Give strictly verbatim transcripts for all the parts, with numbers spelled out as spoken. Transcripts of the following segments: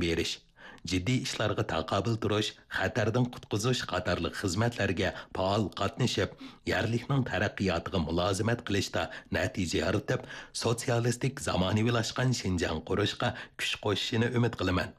بېرىش، جىددىي ئىشلارغا تاقابىل تۇرۇش، خەتەردىن قۇتقۇزۇش قاتارلىق خىزمەتلەرگە پائال قاتنىشىپ، يەرلىكنىڭ تەرەققىياتىغا مۇلازىمەت قىلىشتا نەتىجە يارىتىپ، سوتسىيالىستىك زامانىۋىلاشقان شىنجاڭ قۇرۇشقا كۈچ قوشۇشىنى ئۈمىد قىلىمەن.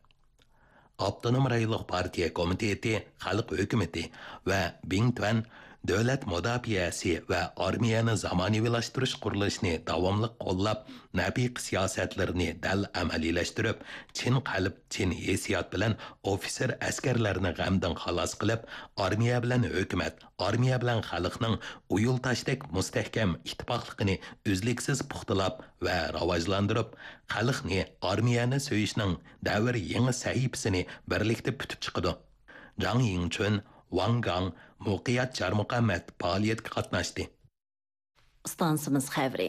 ئاپتونوم رايونلۇق پارتىيە كومىتېتى، خەلق ھۆكۈمىتى ۋە بىڭتۈەن دۆلەت مۇداپىئەسى ۋە ئارمىيەنى زامانىۋىلاشتۇرۇش قۇرۇلۇشىنى داۋاملىق قوللاپ، نەپىقە سىياسەتلىرىنى دەل ئەمەلىيلەشتۈرۈپ، چىن قەلب، چىن ھېسسىيات بىلەن ئوفىتسېر ئەسكەرلەرنى غەمدىن خالاس قىلىپ، ئارمىيە بىلەن ھۆكۈمەت، ئارمىيە بىلەن خەلقنىڭ ئۇيۇل تاشتەك مۇستەھكەم ئىتتىپاقلىقىنى ئۈزلۈكسىز پۇختىلاپ ۋە راۋاجلاندۇرۇپ، خەلقنى ئارمىيەنى سۆيۈشنىڭ دەۋر يېڭى سەھىپىسىنى بىرلىكتە پۈتۈپ چىقىدۇ. جاڭ يىڭچۈن، ۋاڭ گاڭ، مۇقىيات چارمۇقەمەت پائالىيەتكە قاتناشتى. ئىستانسىمىز خەۋىرى.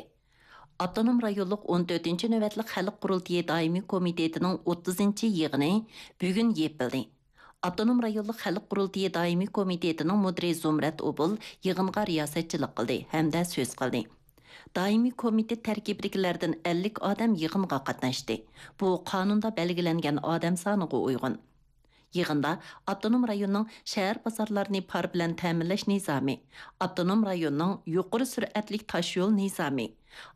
ئاپتونوم رايونلۇق ئون تۆتىنچى نۆۋەتلىك خەلق قۇرۇلتىيى دائىمىي كومىتېتىنىڭ ئوتتۇزىنچى يىغىنى بۈگۈن يېپىلدى. ئاپتونوم رايونلۇق خەلق قۇرۇلتىيى دائىمىي كومىتېتىنىڭ مۇدىرى زۇمرەت ئوبۇل يىغىنغا رىياسەتچىلىك قىلدى ھەمدە سۆز قىلدى. دائىمىي كومىتېت تەركىبىدىكىلەردىن ئەللىك ئادەم يىغىنغا قاتناشتى. بۇ قانۇندا بەلگىلەنگەن ئادەم سانىغا ئۇيغۇن. يىغىندا ئاپتونوم رايوننىڭ شەھەر بازارلارنى پار بىلەن تەمىنلەش نىزامى، ئاپتونوم رايوننىڭ يۇقىرى سۈرئەتلىك تاشيول نىزامى،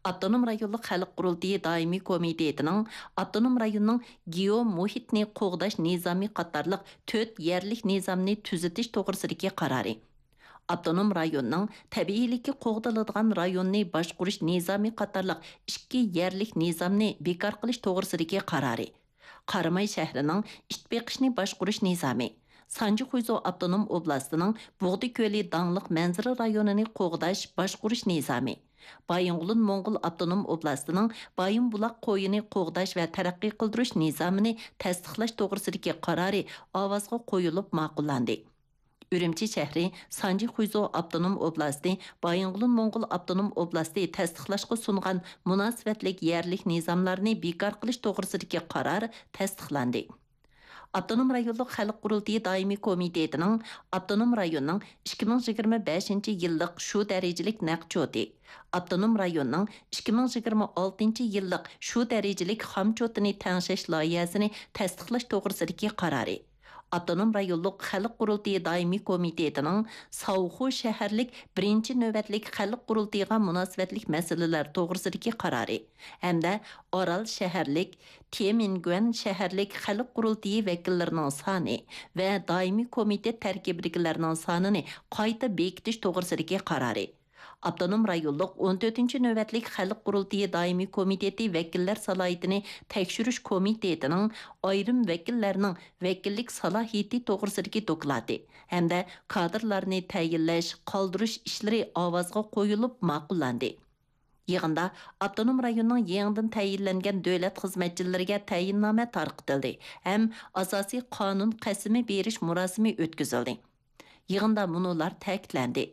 ئاپتونوم رايونلۇق خەلق قۇرۇلتىيى دائىمىي كومىتېتىنىڭ ئاپتونوم رايوننىڭ گېئومۇھىتنى قوغداش نىزامى قاتارلىق تۆت يەرلىك نىزامنى تۈزىتىش توغرىسىدىكى قارارى، ئاپتونوم رايوننىڭ تەبىئىيلىكى قوغدىلىدىغان رايوننى باشقۇرۇش نىزامى قاتارلىق ئىككى يەرلىك نىزامنى بىكار قىلىش توغرىسىدىكى قارارى، قاراماي شەھىرىنىڭ ئىت بېقىشنى باشقۇرۇش نىزامى، سانجى خۇيزۇ ئاپتونوم ئوبلاستىنىڭ بۇغدا كۆلى داڭلىق مەنزىرە رايونىنى قوغداش، باشقۇرۇش نىزامى، بايىنغولىن موڭغۇل ئاپتونوم ئوبلاستىنىڭ بايىنبۇلاق قويىنى قوغداش ۋە تەرەققىي قىلدۇرۇش نىزامىنى تەستىقلاش توغرىسىدىكى قارارى ئاۋازغا قويۇلۇپ ماقۇللاندى. ئۈرۈمچى شەھىرى سانجى خۇيزۇ ئاپتونوم ئوبلاستى، بايىنغولىن موڭغۇل ئاپتونوم ئوبلاستى تەستىقلاشقا سۇنغان مۇناسىۋەتلىك يەرلىك نىزاملارنى بىكار قىلىش توغرىسىدىكى قارار تەستىقلاندى. ئاپتونوم رايونلۇق خەلق قۇرۇلتىيى دائىمىي كومىتېتىنىڭ ئاپتونوم رايوننىڭ ئىككى مىڭ يىگىرمە بەشىنچى يىللىق شۇ دەرىجىلىك نەقچوتى، ئاپتونوم رايوننىڭ ئىككى مىڭ يىگىرمە ئالتىنچى يىللىق شۇ دەرىجىلىك خامچوتىنى تەڭشەش لايىھەسىنى تەستىقلاش توغرىسىدىكى قارارى، ئاپتونوم رايونلۇق خەلق قۇرۇلتىيى دائىمىي كومىتېتىنىڭ ساۋخۇ شەھەرلىك بىرىنچى نۆۋەتلىك خەلق قۇرۇلتىيىغا مۇناسىۋەتلىك مەسىلىلەر توغرىسىدىكى قارارى ھەمدە ئارال شەھەرلىك، تيەنئەنگۈەن شەھەرلىك خەلق قۇرۇلتىيى ۋەكىللىرىنىڭ سانى ۋە دائىمىي كومىتېت تەركىبىدىكىلەرنىڭ سانىنى قايتا بېكىتىش توغرىسىدىكى قارارى، ئاپتونوم رايونلۇق ئون تۆتىنچى نۆۋەتلىك خەلق قۇرۇلتىيى دائىمىي كومىتېتى ۋەكىللەر سالاھىيىتىنى تەكشۈرۈش كومىتېتىنىڭ ئايرىم ۋەكىللەرنىڭ ۋەكىللىك سالاھىيىتى توغرىسىدىكى دوكلاتى ھەمدە كادىرلارنى تەيىنلەش، قالدۇرۇش ئىشلىرى ئاۋازغا قويۇلۇپ ماقۇللاندى. يىغىندا ئاپتونوم رايوننىڭ يېڭىدىن تەيىنلەنگەن دۆلەت خىزمەتچىلىرىگە تەيىننامە تارقىتىلدى ھەم ئاساسىي قانۇن قەسىمى بېرىش مۇراسىمى ئۆتكۈزۈلدى. يىغىندا مۇنۇلار تەكىتلەندى: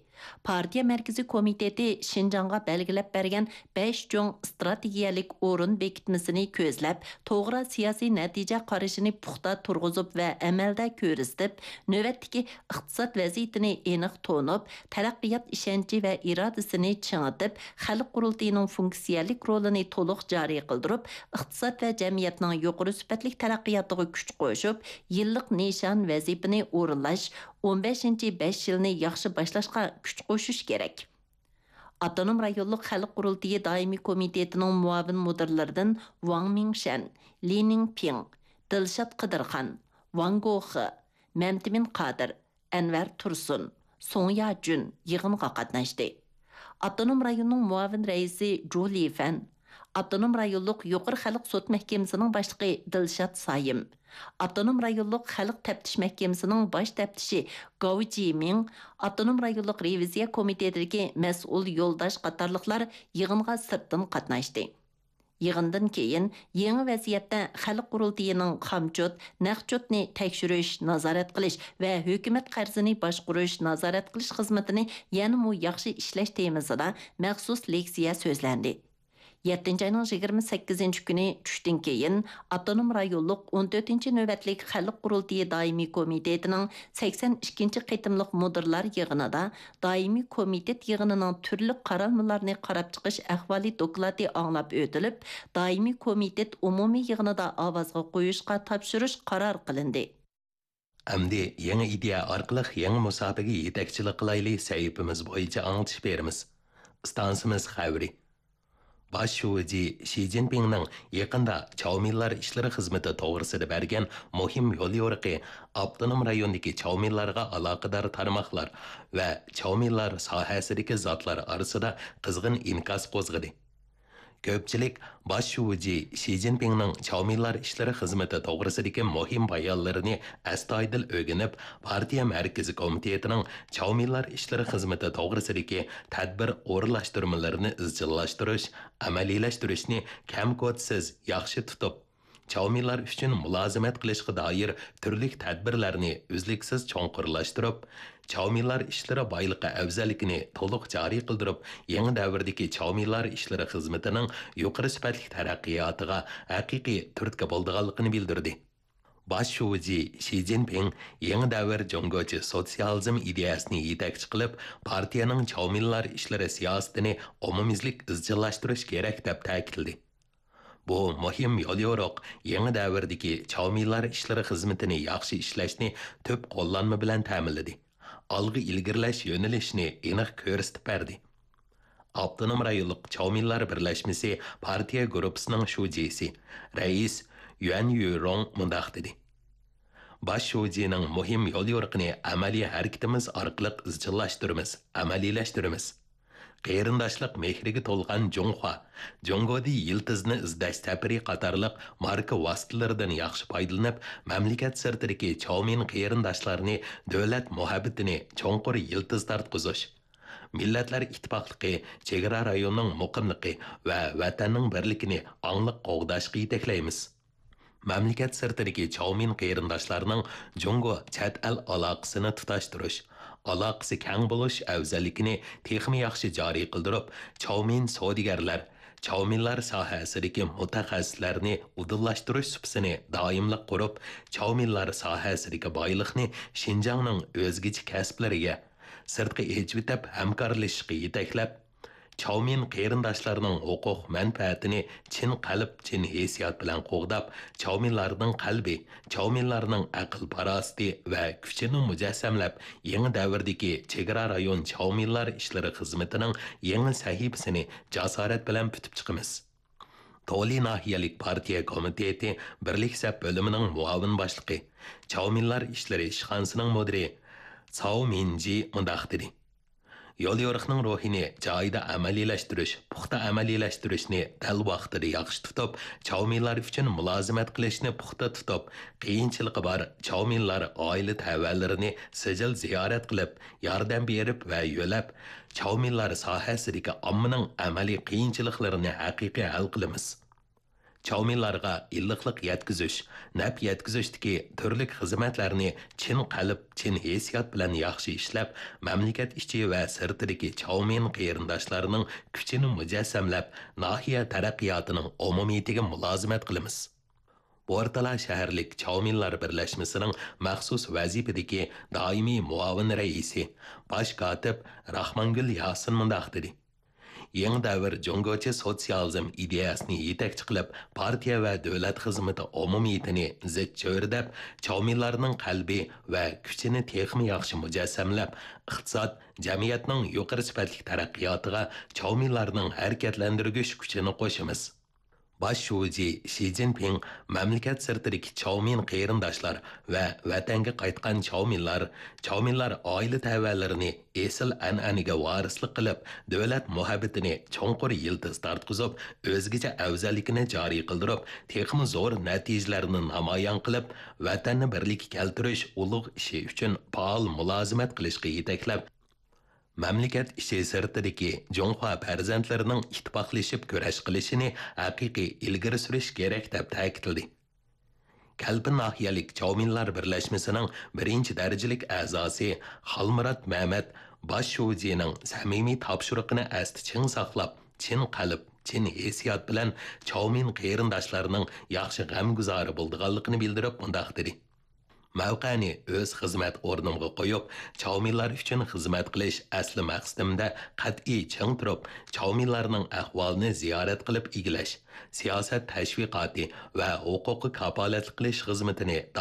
پارتىيە مەركىزىي كومىتېتى شىنجاڭغا بەلگىلەپ بەرگەن بەش چوڭ ئىستراتېگىيەلىك ئورۇن بېكىتمىسىنى كۆزلەپ، توغرا سىياسىي نەتىجە قارىشىنى پۇختا تۇرغۇزۇپ ۋە ئەمەلدە كۆرسىتىپ، نۆۋەتتىكى ئىقتىساد ۋەزىيىتىنى ئېنىق تونۇپ، تەرەققىيات ئىشەنچى ۋە ئىرادىسىنى چىڭىتىپ، خەلق قۇرۇلتىيىنىڭ فۇنكسىيەلىك رولىنى تولۇق جارى قىلدۇرۇپ، ئىقتىساد ۋە جەمئىيەتنىڭ يۇقىرى سۈپەتلىك تەرەققىياتىغا كۈچ قوشۇپ، يىللىق نىشان، ۋەزىپىنى ئورۇنلاش، ئون بەشىنچى بەش يىلنى ياخشى باشلاشقا كۈچ قوشۇش كېرەك. ئاپتونوم رايونلۇق خەلق قۇرۇلتىيى دائىمىي كومىتېتىنىڭ مۇئاۋىن مۇدىرلىرىدىن ۋاڭ مىڭشەن، لى نىڭپىڭ، دىلشات قىدىرخان، ۋاڭ گوخې، مەمتىمىن قادىر، ئەنۋەر تۇرسۇن، سۇڭ ياجۈن يىغىنغا قاتناشتى. ئاپتونوم رايوننىڭ مۇئاۋىن رەئىسى جۇ لىفەن، ئاپتونوم رايونلۇق يۇقىرى خەلق سوت مەھكىمىسىنىڭ باشلىقى دىلشات سايىم، ئاپتونوم رايونلۇق خەلق تەپتىش مەھكىمىسىنىڭ باش تەپتىشى گاۋ جىمىڭ، ئاپتونوم رايونلۇق رېۋىزىيە كومىتېتىدىكى مەسئۇل يولداش قاتارلىقلار يىغىنغا سىرتتىن قاتناشتى. يىغىندىن كېيىن، يېڭى ۋەزىيەتتە خەلق قۇرۇلتىيىنىڭ خامچوت، نەقچوتنى تەكشۈرۈش، نازارەت قىلىش ۋە ھۆكۈمەت قەرزىنى باشقۇرۇش، نازارەت قىلىش خىزمىتىنى يەنىمۇ ياخشى ئىشلەش تېمىسىدا مەخسۇس لېكسىيە سۆزلەندى. يەتتىنچى ئاينىڭ يىگىرمە سەككىزىنچى كۈنى چۈشتىن كېيىن، ئاپتونوم رايونلۇق ئون تۆتىنچى نۆۋەتلىك خەلق قۇرۇلتىيى دائىمىي كومىتېتىنىڭ سەكسەن ئىككىنچى قېتىملىق مۇدىرلار يىغىنىدا دائىمىي كومىتېت يىغىنىنىڭ تۈرلۈك قارالمىلارنى قاراپ چىقىش ئەھۋالى دوكلاتى ئاڭلاپ ئۆتۈلۈپ، دائىمىي كومىتېت ئومۇمىي يىغىنىدا ئاۋازغا قويۇشقا تاپشۇرۇش قارار قىلىندى. ئەمدى يېڭى ئىدىيە ئارقىلىق يېڭى مۇساپىگە يېتەكچىلىك قىلايلى سەھىپىمىز بويىچە ئاڭلىتىش بېرىمىز. ئىستانسىمىز خەۋىرى. باش شۇجى شى جىنپىڭنىڭ يېقىندا چاۋمىنلار ئىشلىرى خىزمىتى توغرىسىدا بەرگەن مۇھىم يوليورۇقى ئاپتونوم رايوندىكى چاۋمىنلارغا ئالاقىدار تارماقلار ۋە چاۋمىنلار ساھەسىدىكى زاتلار ئارىسىدا قىزغىن ئىنكاس قوزغىدى. كۆپچىلىك باش شۇجى شى جىنپىڭنىڭ چاۋمىنلار ئىشلىرى خىزمىتى توغرىسىدىكى مۇھىم بايانلىرىنى ئەستايىدىل ئۆگىنىپ، پارتىيە مەركىزىي كومىتېتىنىڭ چاۋمىنلار ئىشلىرى خىزمىتى توغرىسىدىكى تەدبىر ئورۇنلاشتۇرمىلىرىنى ئىزچىللاشتۇرۇش، ئەمەلىيلەشتۈرۈشنى كەم-كوتىسىز ياخشى تۇتۇپ، چاۋمىنلار ئۈچۈن مۇلازىمەت قىلىشقا دائىر تۈرلۈك تەدبىرلەرنى ئۈزلۈكسىز چوڭقۇرلاشتۇرۇپ، چاۋمىنلار ئىشلىرى بايلىقى ئەۋزەللىكىنى تولۇق جارى قىلدۇرۇپ، يېڭى دەۋردىكى چاۋمىنلار ئىشلىرى خىزمىتىنىڭ يۇقىرى سۈپەتلىك تەرەققىياتىغا ھەقىقىي تۈرتكە بولىدىغانلىقىنى بىلدۈردى. باش شۇجى شى جىنپىڭ يېڭى دەۋر جۇڭگوچە سوتسىيالىزم ئىدىيەسىنى يېتەكچى قىلىپ، پارتىيەنىڭ چاۋمىنلار ئىشلىرى سىياسىتىنى ئومۇميۈزلۈك ئىزچىللاشتۇرۇش كېرەك، دەپ تەكىتلىدى. بۇ مۇھىم يوليورۇق يېڭى دەۋردىكى چاۋمىنلار ئىشلىرى خىزمىتىنى ياخشى ئىشلەشنى تۈپ قوللانما بىلەن تەمىنلىدى. ئالغا ئىلگىرىلەش يۆنىلىشىنى ئېنىق كۆرسىتىپ بەردى. ئاپتونوم رايونلۇق چاۋمىنلار بىرلەشمىسى پارتىيە گۇرۇپپىسىنىڭ شۇجىسى، رەئىس يۈەن يۈرۇڭ مۇنداق دېدى: باش شۇجىنىڭ مۇھىم يوليورۇقىنى ئەمەلىي ھەرىكىتىمىز ئارقىلىق ئىزچىللاشتۇرىمىز، ئەمەلىيلەشتۈرىمىز. قېرىنداشلىق مېھرىگە تولغان جۇڭخۇا، جۇڭگودى يىلتىزنى ئىزدەش سەپىرى قاتارلىق ماركا ۋاسىتىلىرىدىن ياخشى پايدىلىنىپ، مەملىكەت سىرتىدىكى چاۋمىن قېرىنداشلارنى دۆلەت مۇھەببىتىنى چوڭقۇر يىلتىز تارتقۇزۇش، مىللەتلەر ئىتتىپاقلىقى، چېگرا رايونىنىڭ مۇقىملىقى ۋە ۋەتەننىڭ بىرلىكىنى ئاڭلىق قوغداشقا يېتەكلەيمىز. مەملىكەت سىرتىدىكى چاۋمىن قېرىنداشلارنىڭ جۇڭگو چەت ئەل ئالاقىسىنى تۇتاشتۇرۇش، ئالاقىسى كەڭ بولۇش ئەۋزەللىكىنى تېخىمۇ ياخشى جارى قىلدۇرۇپ، چاۋمىن سودىگەرلەر، چاۋمىنلار ساھەسىدىكى مۇتەخەسسىسلەرنى ئۇدۇللاشتۇرۇش سۇپىسىنى دائىملىق قۇرۇپ، چاۋمىنلار ساھەسىدىكى بايلىقنى شىنجاڭنىڭ ئۆزگىچە كەسىپلىرىگە، سىرتقا ئېچىۋېتىپ ھەمكارلىشىشقا يېتەكلەپ، چاۋمىن قېرىنداشلارنىڭ ھوقۇق مەنپەئەتىنى چىن قەلب، چىن ھېسسىيات بىلەن قوغداپ، چاۋمىنلارنىڭ قەلبى، چاۋمىنلارنىڭ ئەقىل-پاراسىتى ۋە كۈچىنى مۇجەسسەملەپ، يېڭى دەۋردىكى چېگرا رايون چاۋمىنلار ئىشلىرى خىزمىتىنىڭ يېڭى سەھىپىسىنى جاسارەت بىلەن پۈتۈپ چىقىمىز. تولى ناھىيەلىك پارتىيە كومىتېتى بىرلىك سەپ بۆلۈمىنىڭ مۇئاۋىن باشلىقى، چاۋمىنلار ئىشلىرى ئىشخانىسىنىڭ مۇدىرى ساۋ مىنجى مۇنداق دېدى: يوليورۇقنىڭ روھىنى جايىدا ئەمەلىيلەشتۈرۈش، پۇختا ئەمەلىيلەشتۈرۈشنى دەل ۋاقتىدا ياخشى تۇتۇپ، چاۋمىنلار ئۈچۈن مۇلازىمەت قىلىشنى پۇختا تۇتۇپ، قىيىنچىلىقى بار چاۋمىنلار ئائىلە تەۋەلىرىنى سىجىل زىيارەت قىلىپ، ياردەم بېرىپ ۋە يۆلەپ، چاۋمىنلار ساھەسىدىكى ئاممىنىڭ ئەمەلىي قىيىنچىلىقلىرىنى ھەقىقىي ھەل قىلىمىز. چاۋمىنلارغا ئىللىقلىق يەتكۈزۈش، نەپ يەتكۈزۈشتىكى تۈرلۈك خىزمەتلەرنى چىن قەلب، چىن ھېسسىيات بىلەن ياخشى ئىشلەپ، مەملىكەت ئىچى ۋە سىرتىدىكى چاۋمىن قېرىنداشلارنىڭ كۈچىنى مۇجەسسەملەپ، ناھىيە تەرەققىياتىنىڭ ئومۇمىيىتىگە مۇلازىمەت قىلىمىز. بورتالا شەھەرلىك چاۋمىنلار بىرلەشمىسىنىڭ مەخسۇس ۋەزىپىدىكى دائىمىي مۇئاۋىن رەئىسى، باش كاتىپ راخمانگۈل ياسىن مۇنداق دېدى: يېڭى دەۋر جۇڭگوچە سوتسىيالىزم ئىدىيەسىنى يېتەكچى قىلىپ، پارتىيە ۋە دۆلەت خىزمىتى ئومۇمىيىتىنى زىچ چۆرىدەپ، چاۋمىنلارنىڭ قەلبى ۋە كۈچىنى تېخىمۇ ياخشى مۇجەسسەملەپ، ئىقتىساد، جەمئىيەتنىڭ يۇقىرى سۈپەتلىك تەرەققىياتىغا چاۋمىنلارنىڭ ھەرىكەتلەندۈرگۈچ كۈچىنى قوشىمىز. باش شۇجى شى جىنپىڭ مەملىكەت سىرتىدىكى چاۋمىن قېرىنداشلار ۋە ۋەتەنگە قايتقان چاۋمىنلار، چاۋمىنلار ئائىلە تەۋەلىرىنى ئېسىل ئەنئەنىگە ۋارىسلىق قىلىپ، دۆلەت مۇھەببىتىنى چوڭقۇر يىلتىز تارتقۇزۇپ، ئۆزگىچە ئەۋزەللىكىنى جارى قىلدۇرۇپ، تېخىمۇ زور نەتىجىلەرنى نامايان قىلىپ، ۋەتەننى بىرلىككە كەلتۈرۈش ئۇلۇغ ئىشى ئۈچۈن پائال مۇلازىمەت قىلىشقا يېتەكلەپ، مەملىكەت ئىچى سىرتىدىكى جۇڭخۇا پەرزەنتلىرىنىڭ ئىتتىپاقلىشىپ كۈرەش قىلىشىنى ھەقىقىي ئىلگىرى سۈرۈش كېرەك، دەپ تەكىتلىدى. كەلپىن ناھىيەلىك چاۋمىنلار بىرلەشمىسىنىڭ بىرىنچى دەرىجىلىك ئەزاسى خالمۇرات مەمەت باش شۇجىنىڭ سەمىمىي تاپشۇرۇقىنى ئەستە چىڭ ساقلاپ، چىن قەلب، چىن ھېسسىيات بىلەن چاۋمىن قېرىنداشلارنىڭ ياخشى غەمگۇزارى بولىدىغانلىقىنى بىلدۈرۈپ مۇنداق دېدى: مەۋقەنى ئۆز خىزمەت ئورنۇمغا قويۇپ، چاۋمىنلار ئۈچۈن خىزمەت قىلىش ئەسلى مەقسىتىمدە قەتئىي چىڭ تۇرۇپ، چاۋمىنلارنىڭ ئەھۋالىنى زىيارەت قىلىپ ئىگىلەش، سىياسەت تەشۋىقاتى ۋە ھوقۇققا كاپالەتلىك قىلىش خىزمىتىنى